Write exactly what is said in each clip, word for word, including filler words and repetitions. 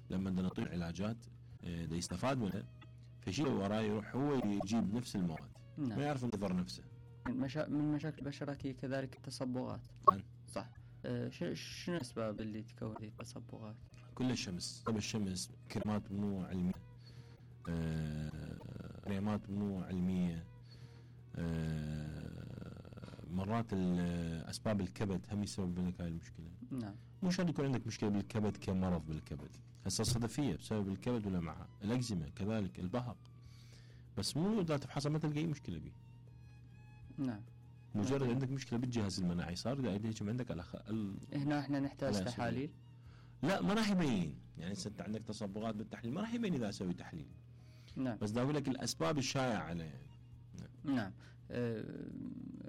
لما بدنا نعطيه علاجات دا يستفاد منها، فشيء وراه يروح هو يجيب نفس المواد. نعم. ما يعرف يضر نفسه. مشا... من مشاكل البشرة كذلك التصبغات. نعم. صح. أه شنو الأسباب اللي تكون هذه التصبغات؟ كل الشمس، طب الشمس، كريمات مو علمية، أه... كريمات مو علمية، أه... مرات أسباب الكبد هم يسبب لك هاي المشكلة. نعم. مو شرط يكون عندك مشكلة بالكبد كمرض بالكبد، هسه الصدفية بسبب الكبد ولا معها، الأكزيما كذلك، البهق، بس مو إذا تفحصها ما تلقى أي مشكلة به. نعم. مجرد نعم. عندك مشكلة بالجهاز المناعي صار قاعد يهجم عندك على خ... ال... هنا احنا نحتاج تحاليل. لا ما راح يبين، يعني انت عندك تصبغات بالتحليل ما راح يبين اذا اسوي تحليل. نعم. بس دا اقول لك الاسباب الشائعة عليه يعني. نعم. نعم.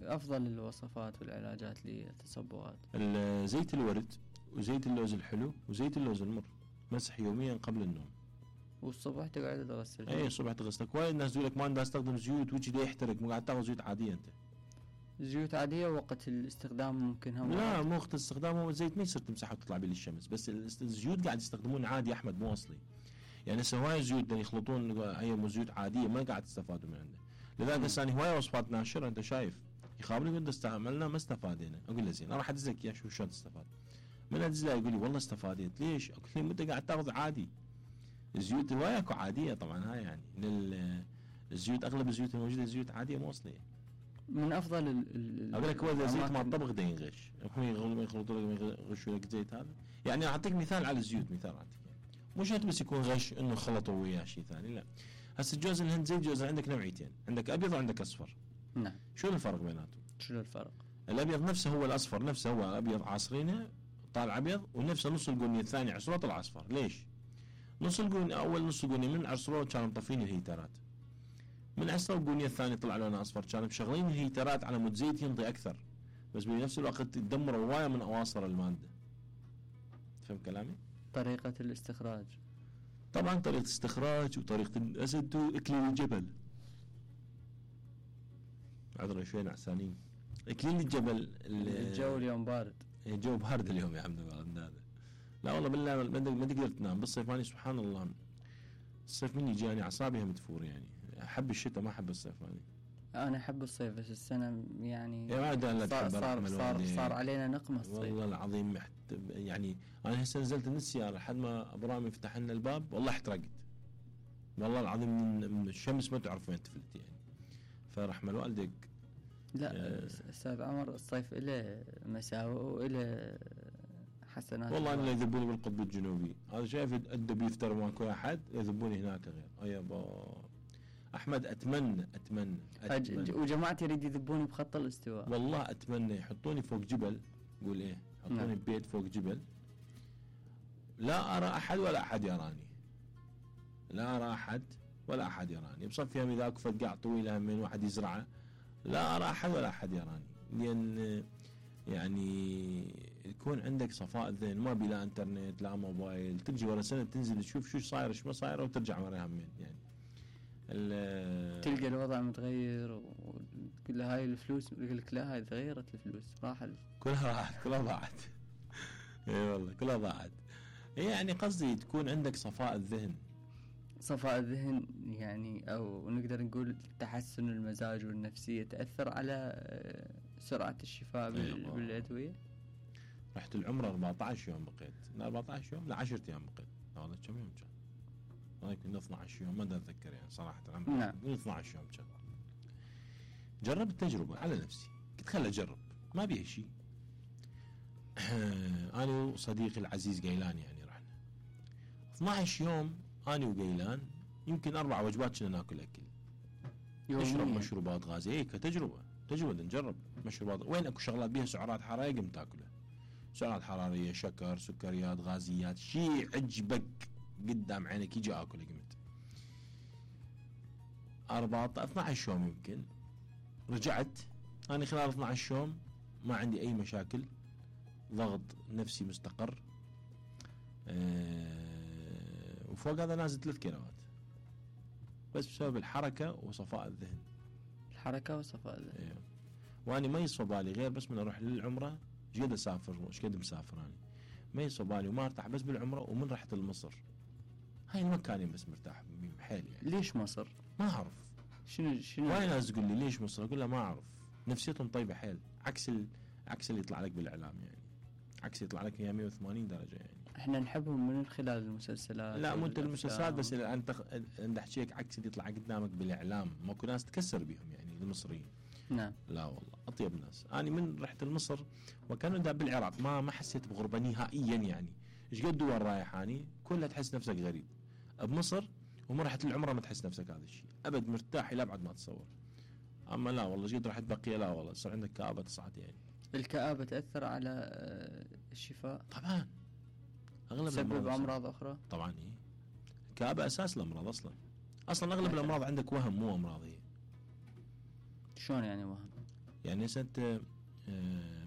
افضل الوصفات والعلاجات للتصبغات زيت الورد وزيت اللوز الحلو وزيت اللوز المر، مسح يوميا قبل النوم. والصبح تقعد تغسل. اي الصبح تغسلك. وايد ناس يقول لك ما بدي استخدم زيوت وجهي دا يحترق، مو قاعد تاخذ زيوت عادية انت. زيوت عادية وقت الاستخدام ممكن هم. لا مو وقت الاستخدام، هو الزيت ما يصير تمسحه وتطلع به للشمس، بس الزيوت قاعد يستخدمون عادي احمد مو اصلي. يعني هسه هواي زيوت يخلطون اي زيوت عادية ما قاعد تستفادوا من عنده. لذلك هسه انا هواي وصفات ناشرة انت شايف يخابرني قد استعملنا ما استفادينا، اقول له زين انا راح ادز لك اياه شوف شلون تستفاد. من ادز له يقول لي والله استفاديت. ليش؟ اقول له انت قاعد تاخذ عادي. الزيوت هواي اكو عادية طبعا هاي يعني الزيوت اغلب الزيوت الموجودة زيوت عادية مو اصلية. من افضل ال اقول لك هو زيت مال الطبخ ده ينغش، هم يخلطوا لك يغشوا لك زيت هذا. يعني اعطيك مثال على الزيوت، مثال اعطيك مو شرط بس يكون غش انه خلطوا وياه شيء ثاني، لا. هسه جوز الهند زي جوز عندك نوعيتين، عندك ابيض وعندك اصفر. نعم. شو الفرق بيناتهم؟ شنو الفرق؟ الابيض نفسه هو الاصفر نفسه، هو ابيض عاصرينه طالع ابيض، ونفسه نص القنيه الثاني عصروه طلع اصفر. ليش؟ نص القنيه اول نص القنيه من عصروه كانوا مطفين الهيترات، من عصروا القنيه الثانيه طلع لونه اصفر، كانوا مشغلين الهيترات على مود زيت ينطي اكثر، بس بنفس الوقت تدمروا هوايه من اواصر الماده. فهم كلامي؟ طريقه الاستخراج طبعا طريقه استخراج وطريقه الاسد واكليل الجبل. عذرا شوي نعسانين. اكليل الجبل الجو اليوم بارد. الجو بارد اليوم يا حمد الله. لا والله بالله ما تقدر تنام بالصيف. أنا سبحان الله الصيف مني جاني اعصابي مدفور، يعني احب الشتاء ما احب الصيف. أنا انا احب الصيف بس السنه يعني صار صار, صار, صار علينا نقمه الصيف والله العظيم. محت... يعني انا هسه نزلت من السياره لحد ما ابرامي يفتح لنا الباب والله احترقت والله العظيم من الشمس ما تعرف وين تفلت يعني. فرحمه والديك. لا استاذ عمر الصيف له مساوئ وله حسنات. والله انا يذبوني بالقطب الجنوبي، هذا شايف الدب يفتر ماكو احد، يذبوني هناك غير. ايابا احمد اتمنى اتمنى, أتمنى. وجماعتي يريد يذبوني بخط الاستواء. والله اتمنى يحطوني فوق جبل، قول ايه يحطوني نعم. ببيت فوق جبل لا ارى احد ولا احد يراني، لا ارى احد ولا احد يراني. بصفيها اذا اكو قاع طويله من واحد يزرعه لا ارى احد ولا احد يراني، لان يعني يكون عندك صفاء ذهن، ما بلا انترنت لا موبايل، تجي ورا سنه تنزل تشوف شو صاير شو ما صاير وترجع ورا همين يعني. تلقى الوضع متغير وكل هاي الفلوس يقول لك لا هاي تغيرت الفلوس راح ال... كلها راحت كلها ضاعت. اي والله كلها ضاعت. يعني قصدي تكون عندك صفاء الذهن. صفاء الذهن يعني او نقدر نقول تحسن المزاج والنفسية تأثر على سرعة الشفاء بال... بالأدوية. رحت العمرة أربعة عشر يوم بقيت، لا أربعة عشر يوم لا عشرة أيام بقيت. هذا كم يوم كان؟ هذا يمكن اثنا عشر يوم ما أتذكر يعني صراحة. العمرة نعم. اثنا عشر يوم كان. جربت التجربة على نفسي، قلت خل أجرب ما بيه شيء. أنا وصديقي العزيز قيلان يعني رحنا اثنا عشر يوم أنا وقيلان يمكن أربع وجبات كنا ناكل أكل، نشرب مشروبات غازية. إيه كتجربة تجربة نجرب مشروبات وين أكو شغلات بيها سعرات حرارية قم تاكلها، سعرات حرارية شكر سكريات غازيات شيء عجبك قدام عينك يجي أكله. قمت أربعة اثنا عشر يوم يمكن رجعت أنا خلال اثنا عشر يوم ما عندي أي مشاكل، ضغط نفسي مستقر. أه وفوق هذا نازل ثلاث كيلوات بس بسبب الحركة وصفاء الذهن. الحركة وصفاء الذهن. ايوه. واني ما يصفى بالي غير بس من اروح للعمرة، ايش قد اسافر ايش قد مسافر اني ما يصفى بالي وما ارتاح بس بالعمرة ومن رحت لمصر هاي المكانين بس مرتاح بيهم حيل يعني. ليش مصر؟ ما اعرف. شنو شنو وايد ناس تقول لي ليش مصر؟ اقول لها ما اعرف. نفسيتهم طيبه حيل، عكس ال... عكس اللي يطلع لك بالاعلام يعني، عكس يطلع لك هي مية وثمانين درجه يعني. احنا نحبهم من خلال المسلسلات. لا مو انت المسلسلات بس، انت انت احكيك عكس اللي يطلع قدامك بالاعلام. ماكو ناس تكسر بيهم يعني المصريين. نعم. لا والله اطيب ناس. انا من رحت لمصر وكانوا دا بالعراق ما ما حسيت بغربه نهائيا يعني. ايش قد دول رايح اني كلها تحس نفسك غريب. بمصر وما رحت العمره ما تحس نفسك هذا الشيء ابد، مرتاح الى ابعد ما تصور. اما لا والله قد رحت بقيه لا والله صار عندك كآبه تصعد يعني. الكآبه تاثر على الشفاء؟ طبعا اغلب تسبب امراض اخرى طبعا. ايه الكآبه اساس الامراض اصلا. اصلا اغلب الامراض عندك وهم مو امراض. هي شلون يعني وهم؟ يعني انت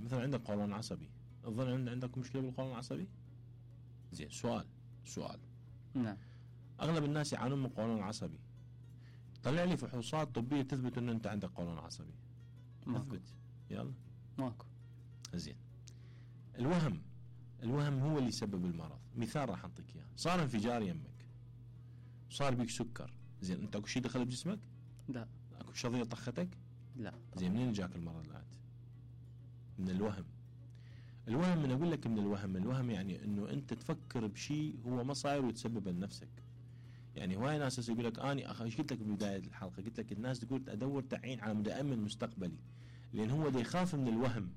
مثلا عندك قولون عصبي، الظن عندك مشكله بالقولون العصبي؟ زين سؤال سؤال نعم. اغلب الناس يعانون من قولون عصبي. طلع لي فحوصات طبيه تثبت ان انت عندك قولون عصبي. ماكو. تثبت يلا ماكو. زين الوهم الوهم هو اللي يسبب المرض. مثال راح اعطيك اياه. صار انفجار يمك، صار بيك سكر، زين انت اكو شيء دخل بجسمك؟ لا. اكو شظيه طختك؟ لا. زين منين جاك المرض الآن؟ من الوهم. الوهم من اقول لك من الوهم. الوهم يعني انه انت تفكر بشيء هو ما صاير وتسببه لنفسك. يعني هواي ناس يقول لك اني اخ ايش قلت لك ببدايه الحلقه؟ قلت لك الناس تقول ادور تعيين على مدى امن مستقبلي، لان هو دا يخاف من الوهم.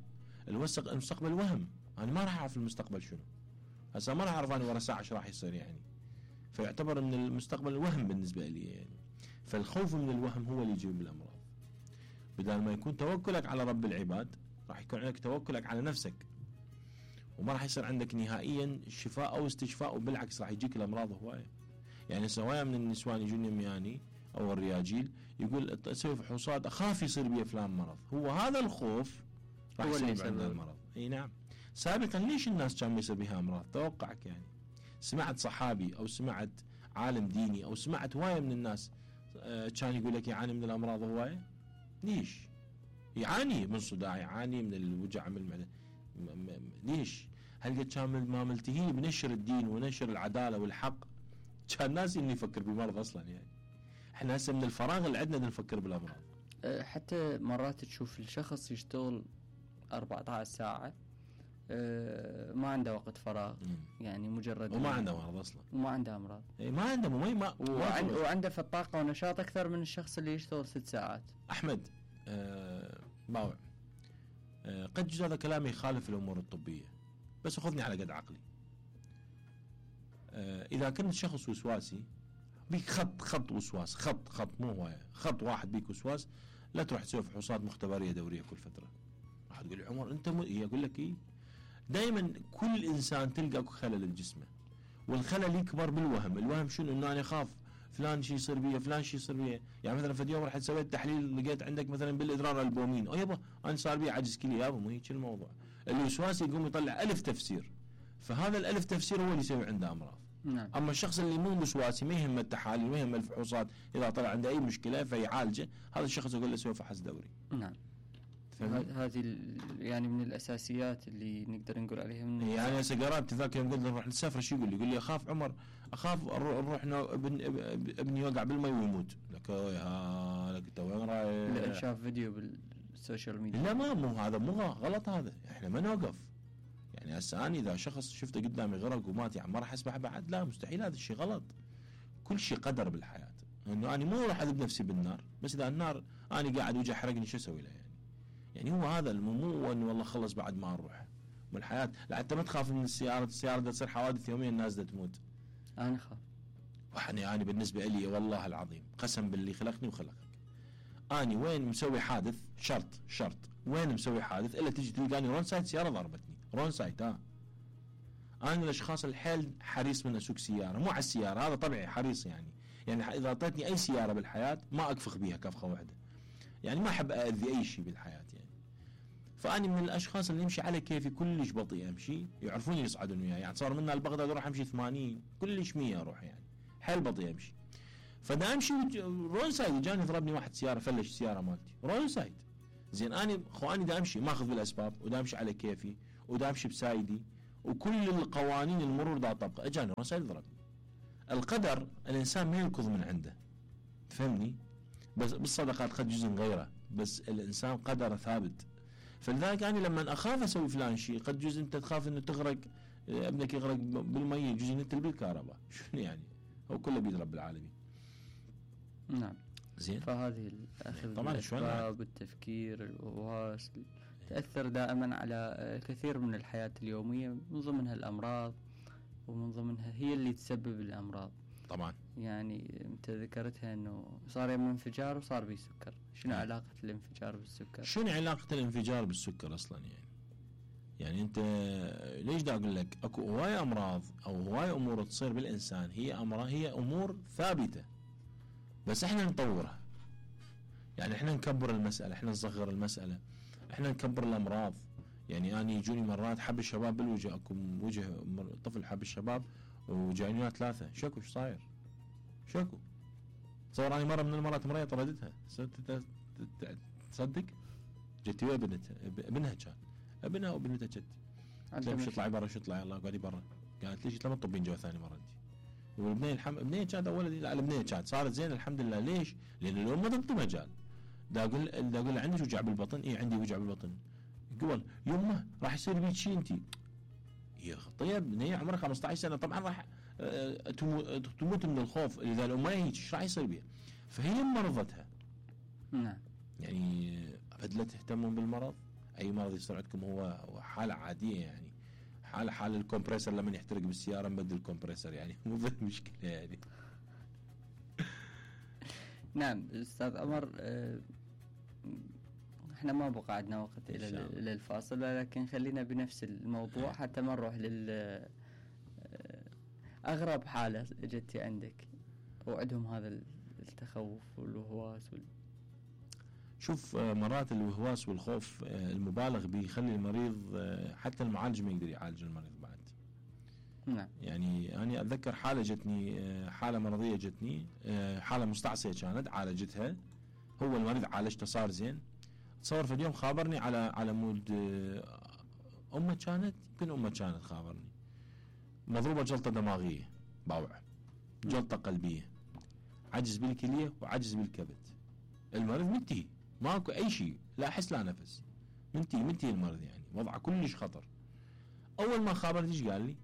الوسق المستقبل وهم، انا ما راح اعرف المستقبل شنو. هسه ما راح اعرف انا ورا ساعه ايش راح يصير يعني. فيعتبر من المستقبل الوهم بالنسبه لي يعني. فالخوف من الوهم هو اللي يجيب الامراض. بدل ما يكون توكلك على رب العباد راح يكون عندك توكلك على نفسك، وما راح يصير عندك نهائيا شفاء او استشفاء، وبالعكس راح يجيك الامراض هوايه. يعني سواء من النسوان يجون مياني او الرياجيل يقول اسوي فحوصات اخاف يصير بي فلان مرض. هو هذا الخوف راح يصير عندنا المرض. اي نعم. سابقا ليش الناس كان يصير بها امراض؟ توقعك يعني سمعت صحابي او سمعت عالم ديني او سمعت هوايه من الناس كان يقول لك يعاني من الامراض هوايه؟ ليش؟ يعاني من صداع، يعاني من الوجع من المعده. ليش؟ هل قد كان ما ملتهي بنشر الدين ونشر العداله والحق كان الناس اللي يفكر بالمرض اصلا يعني. احنا هسه من الفراغ اللي عندنا نفكر بالامراض. حتى مرات تشوف الشخص يشتغل أربعة عشر ساعه ما عنده وقت فراغ يعني مجرد وما عنده مرض اصلا وما عنده امراض. اي ما عنده مي ما وعند وعنده في الطاقه ونشاط اكثر من الشخص اللي يشتغل ست ساعات. احمد أه باوع أه قد جزء هذا كلامي يخالف الامور الطبيه، بس خذني على قد عقلي. أه اذا كنت شخص وسواسي بيك خط خط وسواس خط خط مو هوايه خط واحد بيك وسواس، لا تروح تسوي فحوصات مختبريه دوريه كل فتره. راح تقول لي عمر انت م... يقول لك ايه؟ دائما كل انسان تلقى خلل بجسمه، والخلل يكبر بالوهم. الوهم شنو؟ انه انا اخاف فلان شيء يصير بيه، فلان شيء يصير بيه. يعني مثلا في يوم رحت سويت تحليل لقيت عندك مثلا بالادرار البومين، او يابا انا صار بي عجز كلي. يابا مو هيك الموضوع. الوسواس يقوم يطلع الف تفسير، فهذا الالف تفسير هو اللي يسوي عنده امراض. نعم. اما الشخص اللي مو وسواسي ما يهمه التحاليل ما يهمه الفحوصات، اذا طلع عنده اي مشكله فيعالجه، هذا الشخص اقول له سوي فحص دوري. نعم. هذه يعني من الاساسيات اللي نقدر نقول عليها. من يعني هسه قرابتي ذاك يوم قلت له نروح نسافر شو يقول لي؟ يقول لي اخاف عمر اخاف نروح ابن ابني يوقع بالماء ويموت. لك يا لك انت وين رايح؟ لا شاف فيديو بالسوشيال ميديا. لا ما مو هذا مو غلط، هذا احنا ما نوقف. يعني هسه انا اذا شخص شفته قدامي غرق ومات يعني ما راح اسمح بعد؟ لا مستحيل، هذا الشيء غلط. كل شيء قدر بالحياه، انه انا مو راح اذب نفسي بالنار، بس اذا النار انا قاعد وجه حرقني شو اسوي له يعني؟ يعني هو هذا مو انه والله خلص بعد ما نروح من الحياه. لا انت ما تخاف من السياره، السياره بدها تصير حوادث يوميا الناس بدها تموت. انا اخاف. وحني انا بالنسبه لي والله العظيم قسم باللي خلقني وخلقك، اني وين مسوي حادث شرط شرط وين مسوي حادث الا تجي تلقاني رون سايد سياره ضربتني رون سايد. ها انا من الاشخاص الحيل حريص من اسوق سياره، مو على السياره هذا طبيعي حريص يعني. يعني اذا اعطيتني اي سياره بالحياه ما اكفخ بيها كفخه واحده، يعني ما احب اذي اي شيء بالحياه يعني. فاني من الاشخاص اللي يمشي على كيفي، كلش بطيء امشي، يعرفوني يصعدون وياي. يعني صار منا لبغداد اروح امشي ثمانين كلش مية اروح يعني حيل بطيء امشي. فدا امشي رون سايد جاني ضربني واحد سياره فلش السياره مالتي رون سايد. زين اني اخواني دا امشي ماخذ بالاسباب ودا امشي على كيفي ودا امشي بسايدي وكل القوانين المرور دا طبقه، اجاني رون سايد ضربني. القدر الانسان ما ينقض من عنده، فهمني؟ بس بالصدقات قد جزء غيره، بس الانسان قدره ثابت. فلذلك انا لما اخاف اسوي فلان شيء، قد جزء انت تخاف انه تغرق، ابنك يغرق بالمي، جزء انت بالكهرباء، شنو يعني؟ هو كله بيد رب العالمين. نعم. زين. فهذه الاخذ طبعا بالاسباب، التفكير، الوسواس تاثر دائما على كثير من الحياه اليوميه، من ضمنها الامراض، ومن ضمنها هي اللي تسبب الامراض. طبعا. يعني انت ذكرتها انه صار يم انفجار وصار بيه سكر، شنو نعم. علاقه الانفجار بالسكر؟ شنو علاقه الانفجار بالسكر اصلا يعني؟ يعني انت ليش دا اقول لك اكو هواي امراض او هواي امور تصير بالانسان، هي امراض، هي امور ثابته، بس احنا نطورها. يعني احنا نكبر المساله، احنا نصغر المساله، احنا نكبر الامراض. يعني انا يجوني مرات حب الشباب بالوجه، اكو وجه طفل حب الشباب وجايني ثلاثه، شكو ايش صاير؟ شكو؟ تصور اني مره من المرات مريض طردتها، تصدق؟ جت ويا بنتها، ابنها كان ابنها وبنتها جت. قلت لها اطلعي برا، شو اطلعي؟ الله قاعدي برا. قالت ليش؟ لما تطبين جو ثاني مره انت. والبنيه الحمد البنيه كانت اول، لا البنيه كانت صارت زين الحمد لله. ليش؟ لان الام ما تعطي مجال. دا اقول دا اقول عندك وجع بالبطن؟ اي عندي وجع بالبطن. قبل يمه راح يصير بيك شيء انت. يا طيب بنيه عمرها خمسة عشر سنه، طبعا راح تموت من الخوف. اذا الام ما هيك ايش راح يصير بها؟ فهي مرضتها. نعم. يعني ابد لا تهتمون بالمرض. اي مرض يصير عندكم هو حاله عاديه، يعني حاله حال الكمبريسر لما يحترق بالسياره نبدل الكمبريسر، يعني مو مشكله يعني. نعم استاذ عمر، احنا ما بقى عندنا وقت الى الى الفاصل، لكن خلينا بنفس الموضوع حتى ما نروح لل اغرب حاله جتي عندك وعندهم هذا التخوف والوهواس وال... شوف مرات الوهواس والخوف المبالغ به يخلي المريض حتى المعالج ما يقدر يعالج المريض بعد. نعم. يعني أنا أتذكر حالة جتني، حالة مرضية جتني، حالة مستعصية كانت، عالجتها، هو المريض عالجته صار زين. تصور في اليوم خابرني على على مود أمه كانت، يمكن أمه كانت خابرني مضروبة جلطة دماغية باوعة، جلطة قلبية، عجز بالكلية وعجز بالكبد. المريض منتهي، ماكو أي شيء، لا حس لا نفس، منتهي منتهي المريض، يعني وضعه كلش خطر. أول ما خابرني إيش قال لي؟